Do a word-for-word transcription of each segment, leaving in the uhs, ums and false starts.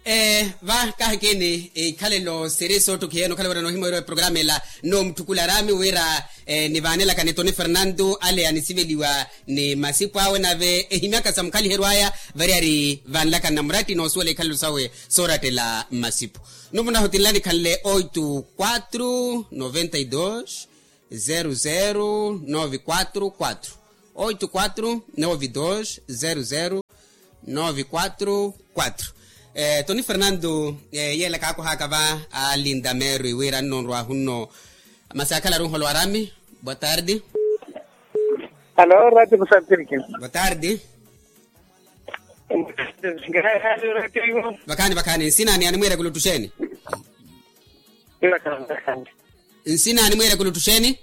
Ee, va kaahikini ikhalelo siri soottukiheeni okhala wira noohimweeriwa eprogramu ela. Nno mutthukula araami wira nivaanelakani toni fernanto ale anisiveliwa ni masipu awe nave ehimyaka sa mukhaliheryo aya variyari vanlakani na muratti noosuwela ikhalelo sawe soorattela mmasipu. Nno munahutinlani khanle oito quatro noventa e dois zero zero nove quatro quatro. Oito quatro nove dois zero zero nove quatro quatro. Toni fernanto, yeela kaakohaka va alinda merwi wira nno nrwahu nno. Masi akhalaru nholwa arami. Boa tarde. Alo rati kusapirikini. Boa tarde. Vakhaani vakhaani nsinani animwiira kuluttuxeeni? Nsinani mwiira kuluttuxeeni?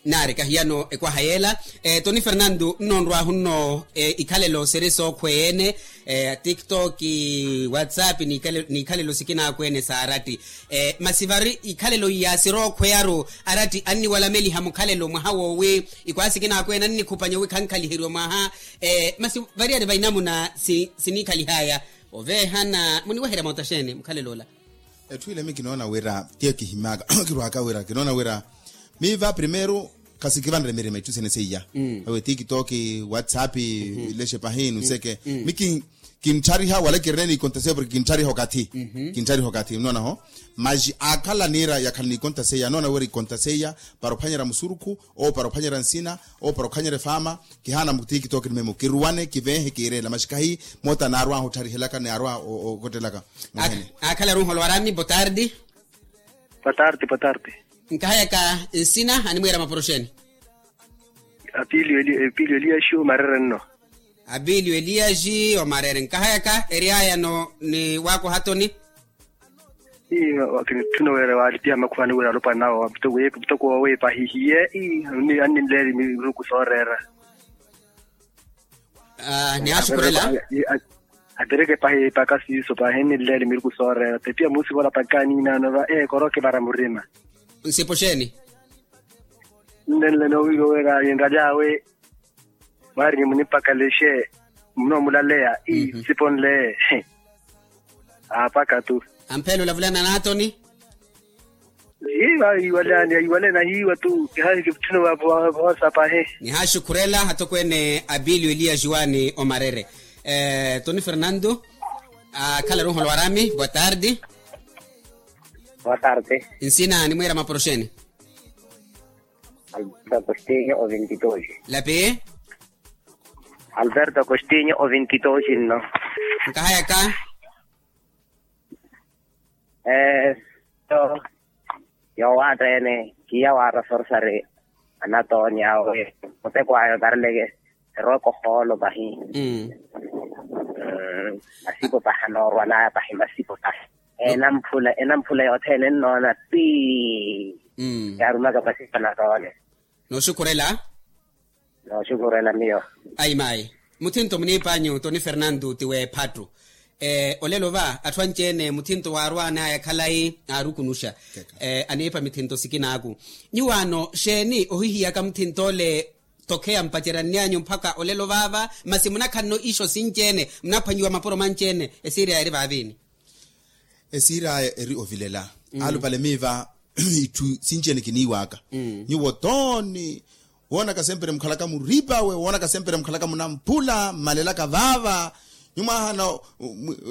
Naari kahiyano ekwaha yeela. Toni fernanto nno nrwahu nno ikhalelo siri sookhweya ene. Tiktok, whatsapp n'ikhalelo sikinaakweene saaratti. Masi vari ikhalelo iya sirookhweyaru aratti anniwalameliha mukhalelo mwaha woowi ikwaha sikinaakweene annikhupanya wi khankhaliheryiwa mwaha. Masi variyari va inamuna siniikhalihaya oveehana muniweherya moota xeeni mukhalelo ola? Etthu ile mi kinoona wira tiyo kihimyaka kirwaka wira kinoona wira miiva primeiro khasikivanre mirima itthu sene seiya. Awe tiktok, whatsapp, ilexe pahi nuseke mi kintthariha wala kirina niikonta seiya porke kintthariha okathi. Kintthariha okathi nnoona ho. Maxi aakhala niira yakhala niikonta seiya anoona wira ikonta seiya para ophwanyerya musurukhu, ou para ophwanyerya nsina, ou para okhanyerya efaama. Kihaana mu tiktok ni memu kiruwane kiveehe kiireela maxi kahi moota naarwahu ottharihelaka naarwa okottelaka. Akhalaru nholwa arami botardi. Botardi botardi. Nkahayaka nsina animwiira maporoxeni? Apilio eliaxi omarere nno. Apilio eliaxi omarere nkahayaka eryayano ni waakohatoni. Ii wakinitthuna wira waalipiha makhuwani wira alopwana awo mutoko woowiipa ahihiye. Ii anninleeli miruku sooreera. Nihaaxukhurela. Apereke pahi ipaka siiso pahi enninleeli miruku sooreera tepiya muusivola pakaniinaano va ee koroke vara murima. Nsipo xeeni? Nnenle noowiiwa wira ninraly'awe. Mwaari munimpakalexe munoomulaleya ii nsiponle. Aapaka tu. Ampheela olavulana n'atoni. Hiiva yiiwalani yiiwale nahiiwa tu kihaahi kivutthuna voosa pahi. Nihaaxukhurela atokweene apilio eliya juwani omarere. Toni fernanto. Akhalaru nholwa arami boa tardi. Boa tardi. Nsina animwiira maporoxeni? Alberto agostinho ovintitoxi. Lapi. Alberto agostinho ovintitoxi nno. Nkahayaka. Ee so yoowatta ene kiya waarasorsari anatooni awe muteko ayo tareleke erooka ohoolo pahi. Masipo pahi anoorwanaya pahi masipo pahi. Enamphula enamphula yothene ennoona pii. Yaarumaka masipo anatooni. Nooxukhurela. Nooxukhurela miyo. Ayi mayi. Muthinto muniipanyu toni fernanto ti w'ephattu. Olelo va atthu anci-ene muthinto waarwanaya khalayi aarukunuxa. Aniipa mithinto sikinaaku. Nyuwaano xeeni ohihiyaka muthinto ole? Tokheya mpaceryanny'anyu mpakha olelo vaava masi munakhanno ixo sinci-ene munaphwanyiwa mapuro manci-ene. Esiiriyaya eri vaaviini? Esiiriyaya eri ovilela. Alupale miiva itthu sinci-ene kiniiwaka. Nyuwo tooni woonaka sempre mukhalaka muriipawe woonaka sempre mukhalaka munamphula mmalelaka vaava. Nyuwo mwaahana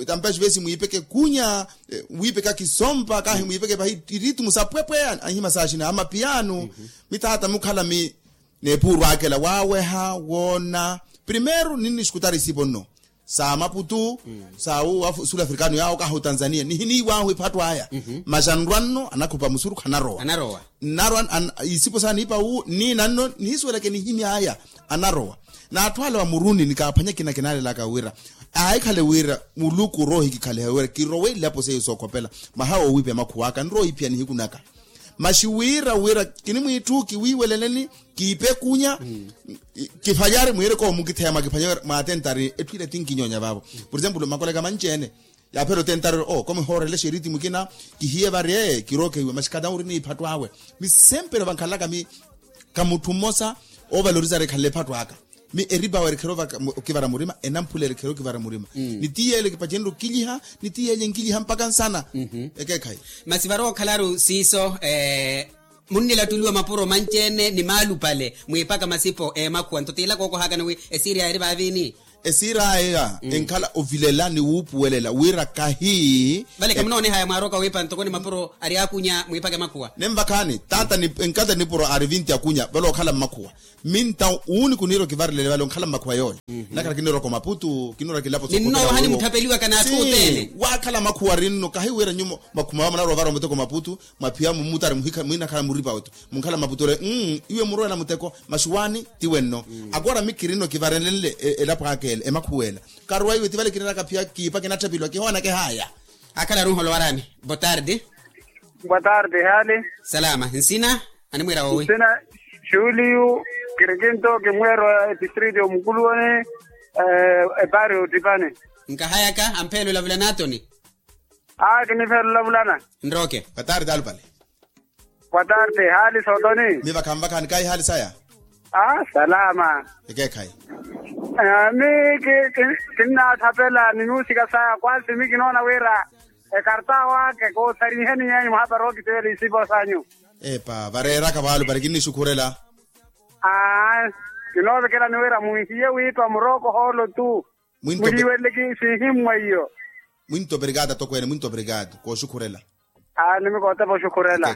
tampeyaxi vesi mwiipeke kunya wiipeka kisompa kahi mwiipeke pahi iritimu sapwepwe anhima saaxina amapiyanu. Mithaata mukhala mi neepuurwakela waaweha woona primeiro ninnixukutari isipo nno sa maputu sa sul africano yaawo kahi otanzania nihiniiwahu ephattu aya. Masi anrwa nno anakhupa musurukhu anarowa. Nnarwa isipo saaniipa wu nniina nno nihisuwelaka enihimy'aya anarowa. N'atthu ale wa muruni nikaaphwanya ekina kinaalelaka wira aahikhale wira muluku oroohikikhaliha wira kirowa elapo seiyo sookhopela mwaha woowiipiha makhuw'aka nrowa owiipiha nihiku naka. Masi wira wira kinimwiitthu kiwiiweleleni kiipe kunya kiphanyari mwiireke owo mukitheya mwakiphanya mwatentari etthu ila tinkinyonya vaavo. Por exemplo makoleka manci-ene yaaphera otentari ori oo komihoorelexa eritimu ekina kihiye vari ee kirookehiwa masi khatauri ni iphattu awe. Mi sempre vankhalaka mi kamutthu mmosa oovalorizari ekhanle ephattu aka. Mi eripawo erikherya okivara murima enamphula erikherya okivara murima. Ni ti yeele kipacenrye okilyiha ni ti yeele enkilyiha mpaka nsana. Ekeekhayi. Masi varowa okhalaru siiso. Munnilattuliwa mapuro manci-ene ni maalupale mwiipaka masipo emakhuwa nto tiilaka okohakana wi esiiriyaya eri vaaviini. Esiiriyaya enkhala ovilela ni wuupuwelela wira kahi. Vale kamunoonehaya mwaaroka wiipa ntoko ni mapuro ari akunya mwiipaka emakhuwa. Nenvakhaani taata enkata nipuro ari vinti akunya vale okhala mmakhuwa. Minta uuni kuniira okivarelele vale onkhala mmakhuwa yooyo. Nakhala kiniirwaka omaputu kiniirwaka ilapo. Ninnoowaha nimuthapeliwaka n'atthu othene. Waakhala makhuwa rinno kahi wira nyumo makhuma wa munarowa ovara omuteko maputu. Mwaphiya mummutari muhikha mwiinakhala muripa wetu munkhala maputu ole. Iwe murowela muteko maxuwaani ti wenno. Akoora mi kirinno kivarenlenle elapo aka ele emakhuwa ela. Karuwa iwe ti vale kirinaka phiya kiipa kinatthapeliwa kihooneke haya. Akhalaru nholowaraani. Botardi. Botardi haali. Salama nsina. Animwiira woowi? Nsina juliyu. Kirikinto kimweerwa etistriti omukuluwani. Epaari ottipani. Nkahayaka ampheela olavulana atoni. Aa kinipheela olavulana. Nrooke. Botardi alupale. Botardi haali sootoni. Mi vakhanvakhani kaayi haali saya. Aa salama. Ekeekhayi. Mi kinnaathapela ni nuusika saya kwansi mi kinoona wira ekarta waka koothariiheni nyeenyu muhapari ookiteyela isipo sanyu. Epa vareeraka vaalupale kinnixukhurela. Aa kinoovekelani wira munhiye wiipa murooko hoolo tu. Muliiweleke siihimmwa iyo. Mwinto operikaati atokweene mwinto operikaati kooxukhurela. Aa nimikootepa oxukhurela.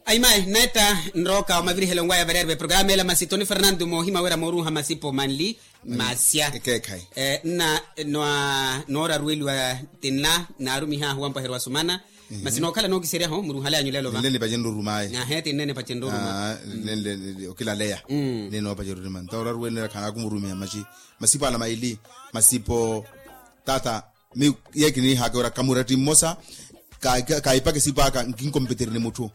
Ayimayi netta nrooka omavirihelo nwaya variyari va eprograma ela masi toni fernanto moohima wira mooruuha masipo manli. Masya. Nna nooraruweliwa tinla naarumihaahu wampwaheriwa sumana. Masi nookhala nookiseryaho muruhale anyu lelo va. Nle nipacenrye orumaye. Ahe tinne nipacenrye oruma. Nle okilaleya. Nle noopacerya oruma nto oraruweliwa khanaaku murumiha maxi. Masipo ala maili masipo. Tata mi ye kiniihaka wira kamuratti mmosa. Kaipaka esipo aka nkinkompetere ni mutthu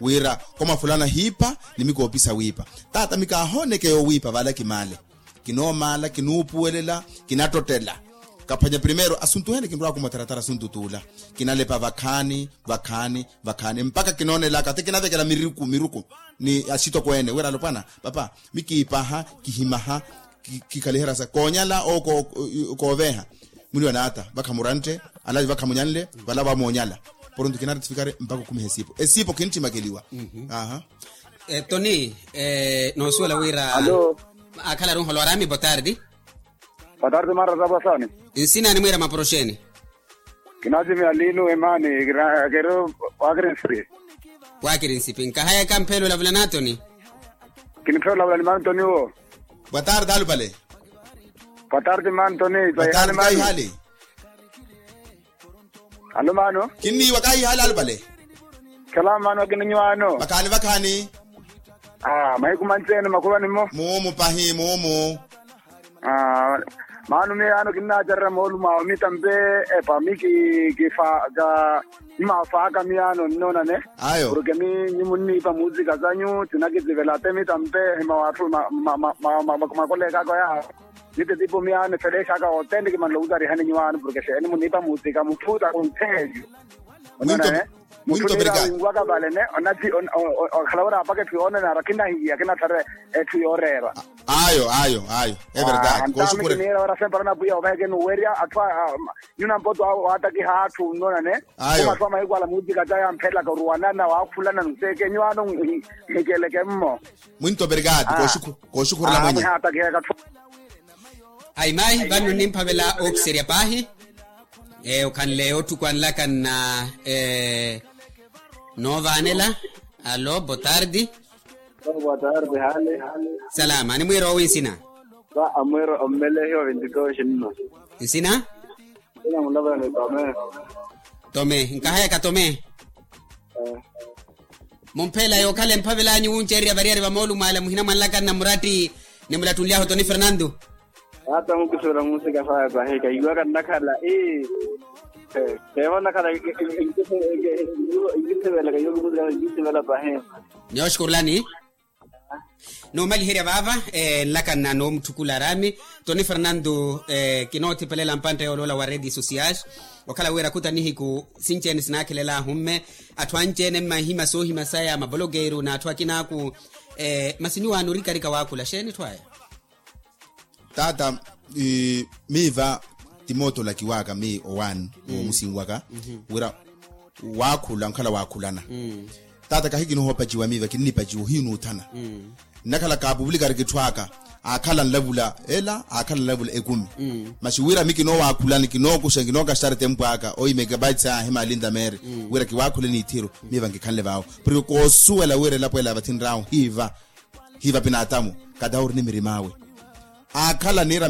wira komafulana hiipa ni mi koopisa wiipa. Tata mi kaahooneke yoowiipa vale kimaale. Kinoomaala kinuupuwelela kinattottela. Kaphwanya primeiro asuntu hene kinrwaaku mutaratara asuntu tuula. Kinalepa vakhaani vakhaani vakhaani mpakha kinoonelaka ti kinavekela miruku miruku ni axitokweene wira alopwana. Papa mi kiipaha kihimaha kikhaliherya sa koonyala ou kooveeha. Muniwa n'ata vakhamurantte alavi vakhamunyanle vala vamoonyala. Poronto kinaretifikare mpakha okhumiha esiipo esiipo khintthimakeliwa. Aha. Toni noosuwela wira akhalaru nholwarami botardi. Botardi marra tapwasani. Nsina animwiira mapuro xeeni? Kinaatimiya lino emaani kiri wakirinsipi. Wakirinsipi nkahayaka mpheela olavula n'atoni. Kinipheela olavula ni mantoni wo. Boa tarde alupale. Boa tarde mantoni. Boa tarde kaihali. Alo mano. Kinniiwa kaihali alupale. Salama mano akininywano. Vakhaani vakhaani. Mahiku manci ene makhulwani mmo. Muumu pahi muumu. Maano miyo yaano kinnaacererya moolumo awo mitampe epa mi kifaaka. Mmafaaka miyaano nnoonane. Ayo porke mi nyi munniipa muutsika sanyu tinakitivela te mitampe ehima w'atthu makoleekaka yaawo. Mititipo miyaano efeleexaka othene kimanle owutarihani nyuwaano porke xeeni muniipa muutsika mutthu ta kuntheelyo. Onnoonane. Mutthu niira winwaka vale ne onati okhala wira apaka etthu yoonanara kinahiya kinathara etthu yooreera. Ayo ayo ayo. Everdade kooxukhurela. Niira wira sempara napwiya ovaheke nuwerya atthu a nyuna mpoto awo waatakiha atthu nnoonane. Ayo. Omatthu a mahiku ala muutika ca yamphelaka oruwanana waakhulana nseeke nyuwaano nhikeleke mmo. Mwinto operikaati kooxukhurela mwenye. Ayimayi vano nimphavela ookiserya paahi. Okhanle otthuku anlaka nna noovaanela. Alo botardi. Botardi hale. Salama animwiira owi nsina? Amwiira ommelehi wa vintitoxi nno. Nsina? Nsina mulavulani tome. Tome nkahayaka tome. Mumpheela yookhala emphavel'anyu wunceererya variyari va moolumo ala muhina mwanlaka nna muratti nimulattunly'ahu toni fernanto. Ata mukisivela muusika faya pahi kahiwaka nnakhala ii. Keevo nnakhala nkisivela kahiwaka muusika nkisivela pahi. Nyooxukurulani. Noomaliherya vaava nlaka nna noomutthukula araami. Toni fernanto kinoothipelela mpantta yooloola wa redes sociais. Okhala wira khuta nihiku sinci-ene sinaakhelel'ahu mme atthu anci-ene mmahiima soohima saya mavolokeeru n'atthu akinaaku. Masi nyuwaano orikarika waakhula xeeni etthu aya? Taata, miiva ti mootolaki waka mii owaani, omusinwaka wira wakhula nkhala wakhulana. Taata kahi kinoohopaciwa miiva kinnipaciwa ohiinuuthana. Nnakhala kaapuvuli kari kitthwaka, akhala nlavula ela akhala nlavula ekumi. Masi wira mi kinoowakhulani kinookuxa kinookaxitari tempu aka oyi megabytes ahi malinda meeri, wira kiwaakhule niithiru. Miiva nkikhanle vaawo porke koosuwela wira elapo ela vathinrahu hiiva hiiva pinaatamu. Katawuri ni mirim'awe akhala niira.